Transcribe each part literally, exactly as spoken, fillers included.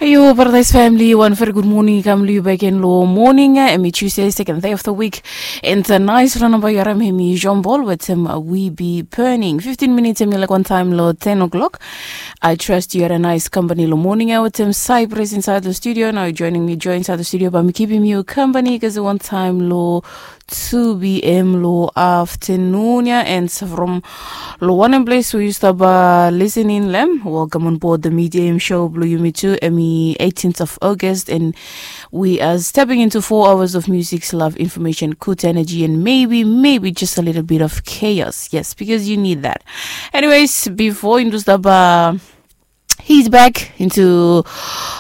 Yu Paradise family, wan very good morning i kam long yu bek gen long morning. Hemi Tuesday, second day of the week. And a nice rana bai yu harim hemi Jean Paul wetem We Be Burning. Fifteen minutes hemi laik wan taem long ten o'clock. I trust yu had a nice company long morning ia wetem Cyprus inside the studio. Now yu joining me join inside the studio bai mi kipim yu company kasem wan taem long two p.m. long afternoon ia. And from long wanem ples we yu stap listening long hem, welcome on board the Media M show blong yumi tu. Hemi eighteenth of August, and we are stepping into four hours of music, love, information, good energy, and maybe, maybe just a little bit of chaos. Yes, because you need that. Anyways, before yumi stap uh, he's back into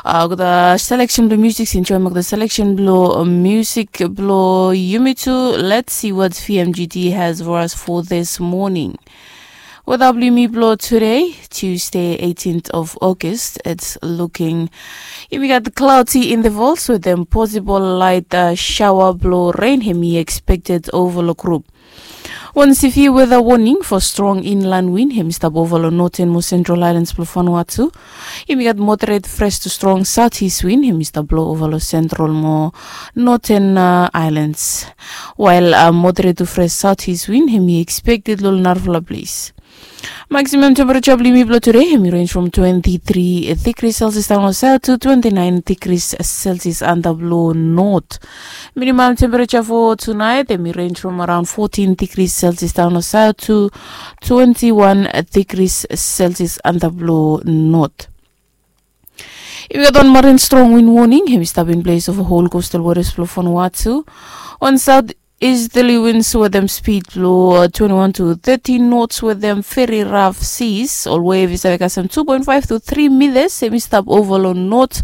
uh, the selection blong music, enjoy the selection blong uh, music blong yumi tu. Let's see what V M G T has for us for this morning. Weta blong yumi blong today, Tuesday, eighteenth of August, it's looking, yumi gat cloudy intervals wetem possible light uh, shower blong rain hemi expected over long group. Wan severe weather warning for strong inland wind hemi stap over long northern mo central islands blong Vanuatu. Yumi gat moderate fresh to strong southeast wind hemi stap blow over long central mo northern uh, islands. While uh, moderate to fresh southeast wind hemi expected long narafala ples. Maximum temperature blong yumi blong today hemi range from twenty-three degrees Celsius down long south to twenty-nine degrees Celsius antap long north. Minimum temperature for tonight hemi range from around fourteen degrees Celsius down long south to twenty-one degrees Celsius antap long north. Yumi gat wan marine strong wind warning hemi stap in place over whole coastal waters blong Vanuatu. Wan south easterly winds wetem speed blong uh, twenty-one to thirty knots wetem very rough seas. Ol wave i save kasem two point five to three meters hemi stap over long north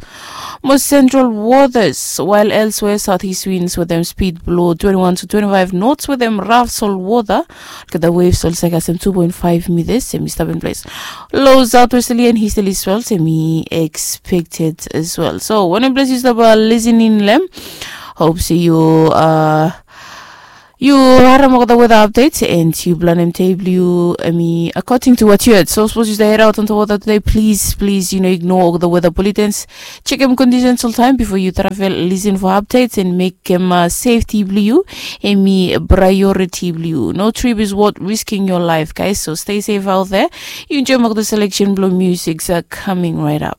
mo central waters, while elsewhere southeast winds wetem speed blong twenty-one to twenty-five knots wetem rough salt water. Olgeta waves oli save kasem two point five meters hemi stap in place. Low southwesterly and easterly swells hemi expected as well. So wanem ples yu stap uh, listening long hem, hope se yu uh, yu harim olgeta weather updates and yu planem dei blong yu, I mean, according to what you heard. So sapos yu stap head out onto weather today, please, please, you know, ignore olgeta weather bulletins. Chekem conditions oltaem before yu travel. Listen for updates and mekem uh, safety blong yu hemi priority blong yu. No trip is worth risking your life, guys. So stay safe out there. Yu enjoy olgeta selection blong music uh, coming right up.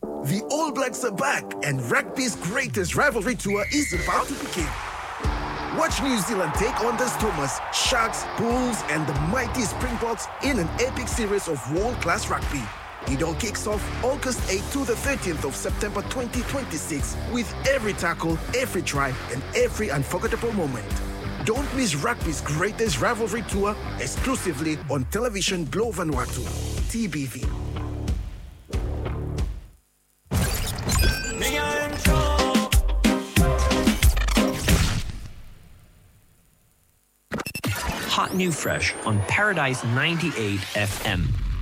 The All Blacks are back, and rugby's greatest rivalry tour is about to begin. Watch New Zealand take on the Stormers, Sharks, Bulls, and the mighty Springboks in an epic series of world-class rugby. It all kicks off August eighth to the thirteenth of September twenty twenty-six, with every tackle, every try, and every unforgettable moment. Don't miss rugby's greatest rivalry tour exclusively on Television Globe Vanuatu, T B V. Hot new fresh on Paradise ninety-eight F M.